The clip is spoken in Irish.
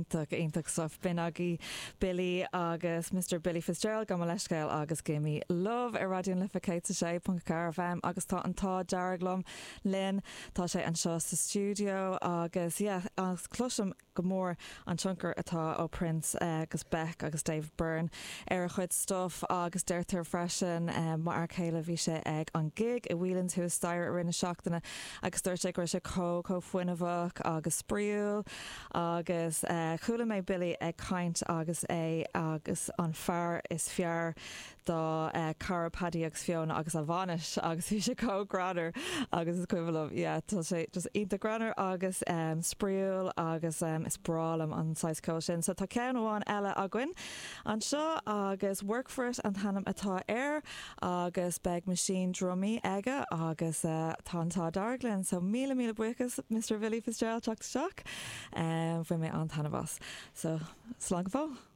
Iontach, iontach stuff. B'in agaibh Billy agus Mister Billy Fitzgerald, gabh mo leithscéal agus Gimme Love ar Raidió na Life 106.4 FM agus tá an t-ádh dearg liom linn. Tá sé anseo sa stiúideo agus yeah, agus cloisim go mór an tionchar atá ó Prince agus Beck agus David Byrne ar a chuid stuff agus deirtear freisin m'fhear céile bhí sé ag an gig i Whelan's thuas staighre i rith na seachtaine agus dúirt sé go raibh sé chomh chomh fuinneamhach agus spraíúil agus chuala mé Billy ag caint agus é agus an fear is fearr dá cara Paddy agus Fiona agus a bhainis agus bhí sé chomh greannmhar agus is cuimhin liom yeah tá sé just iontach greannmhar agus spraíúil agus is breá liom an saghas ceoil sin. So tá ceann amháin eile againn anseo agus Work For It an t-ainm atá air agus beidh machine drumaí aige agus tá an t-ádh dearg linn so míle míle buíochas Mr Billy Fitzgerald teacht isteach. Bhain mé an-taitneamh as. So slán go fóill.